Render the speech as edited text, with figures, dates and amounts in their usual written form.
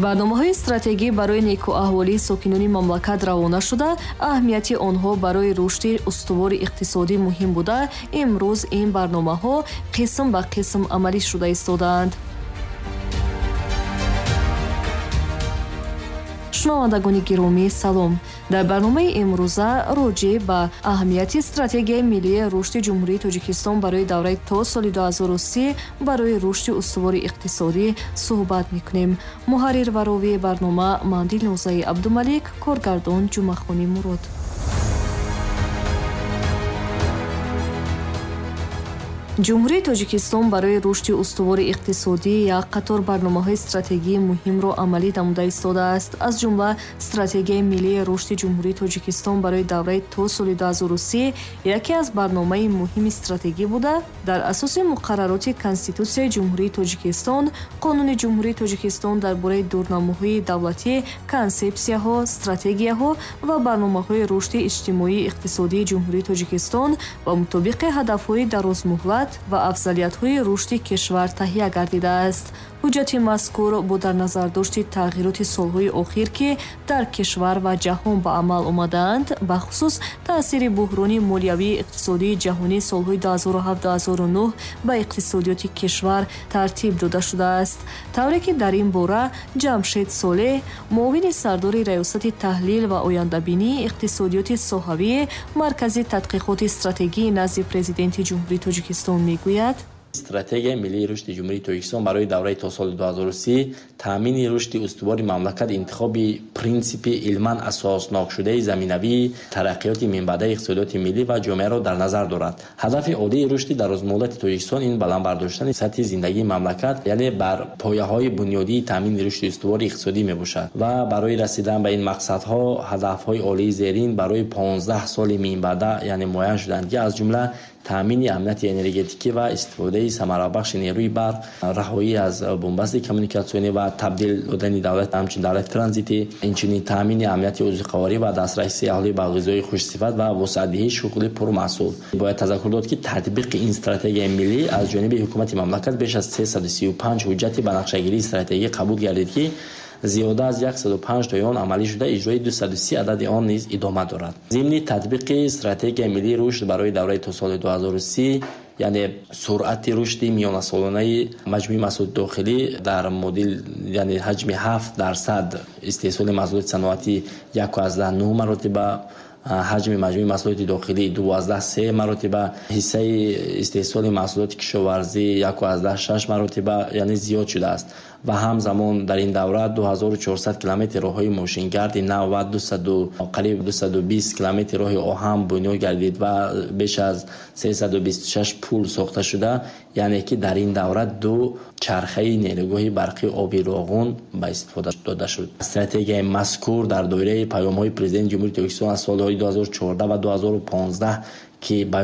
Барномаҳои стратегӣ барои некӯаҳволии сокинони мамлакат равона шуда, аҳамияти онҳо барои рушди устувори иқтисодӣ муҳим буда, имрӯз ин барномаҳо қисм ба қисм амалӣ шуда истодаанд. Шунавандагони гиромӣ, салом. Дар барномаи имрӯза роҷеъ ба аҳамияти стратегияи миллии рушди Ҷумҳурии Тоҷикистон барои давраи то соли 2030 барои рушди устувори иқтисодӣ суҳбат мекунем. Муҳаррир ва ровии барнома ман Дилнозаи Абдумалик, коргардон Ҷумъахони Мурод. Ҷумҳурии Тоҷикистон барои рушди устувори иқтисодӣ як қатор барномаҳои стратегии муҳимро амалӣ намуда истодааст. Аз ҷумла стратегияи миллии рушди Ҷумҳурии Тоҷикистон барои давраи то соли 2030 яке аз барномаи муҳими стратегӣ буда, дар асоси муқаррароти Конститутсияи Ҷумҳурии Тоҷикистон, Қонуни Ҷумҳурии Тоҷикистон дар бораи дурнамоҳои давлатӣ, консепсияҳо, стратегияҳо ва барномаҳои рушди иҷтимоии иқтисодии Ҷумҳурии Тоҷикистон ва мутобиқи ҳадафҳои дарозмуҳлат ва афзалиятҳои рушди кишвар таҳия гардидааст. Ҳуҷҷати мазкур бо дар назардошти тағйироти солҳои охир, ки дар кишвар ва ҷаҳон ба амал омадаанд, бахусус таъсири буҳрони молиявии иқтисодии ҷаҳонии солҳои 2007-2009 ба иқтисодиёти кишвар тартиб дода шудааст. Тавре ки дар ин бора Ҷамшед Солеҳ, муовини сардори Раёсати таҳлил ва ояндабинии иқтисодиёти соҳавии Маркази тадқиқоти стратегии назди Президенти Ҷумҳурии Тоҷикистон мегӯяд: Стратегияи миллии рушди Ҷумҳурии Тоҷикистон барои давраи то соли 2030 таъмини рушди устувори мамлакат, интихоби принсипи илман асоснокшудаи заминавии тараққиёти минбаъдаи иқтисодиёти миллӣ ва ҷомеаро дар назар дорад. Ҳадафи оддии рушди дарозмуҳлати Тоҷикистон ин баланд бардоштани сатҳи зиндагии мамлакат, яъне бар пояҳои бунёдии таъмини рушди устувори иқтисодӣ мебошад ва барои расидан ба ин мақсадҳо ҳадафҳои олии зерин барои 15 соли минбаъда, яъне муайян шуданд, ки аз ҷумла таъмини амнияти энергетикӣ ва истифодаи самарабахши нерӯи барқ, раҳоӣ аз бунбасти коммуникатсионӣ ва табдил додани давлат ҳамчун давлати транзитӣ, инчунин таъмини амнияти озуқаворӣ ва дастрасии аҳолӣ ба ғизои хушсифат ва вусъатдиҳии шуғли пурмаҳсул. Бояд тазаккур дод, ки татбиқи ин стратегияи миллӣ аз ҷониби ҳукумати мамлакат беш аз 335 ҳуҷҷати ба нақшагирии стратегӣ қабул гардид, ки зиёда аз 105 тои он амалӣ шуда, иҷрои 230 адади он низ идома дорад. Зимни татбиқи стратегияи миллии рушд барои давраи то соли 2030, яъне суръати рушди миёнасолонаи маҷмӯи маҳсулоти дохилӣ дар модел, яъне ҳаҷми 7% истеҳсоли маҳсулоти саноатӣ 1,9 маротиба, ҳаҷми маҷмӯи маҳсулоти дохилӣ 2,3 маротиба, ҳиссаи истеҳсоли маҳсулоти кишоварзӣ 1,6 маротиба, яъне зиёд шудааст. Ва ҳамзамон дар ин давра 2400 километр роҳҳои мошингарди нав ва қариб 220 километр роҳи оҳан бунёд гардид ва беш аз 326 пул сохта шуда, яъне ки дар ин давра 2 чархаи нерӯгоҳи барқи оби Роғун ба истифода дода шуд. Стратегияи мазкур дар доираи паёмҳои Президенти Ҷумҳурии Тоҷикистон аз солҳои 2014 ва 2015 ки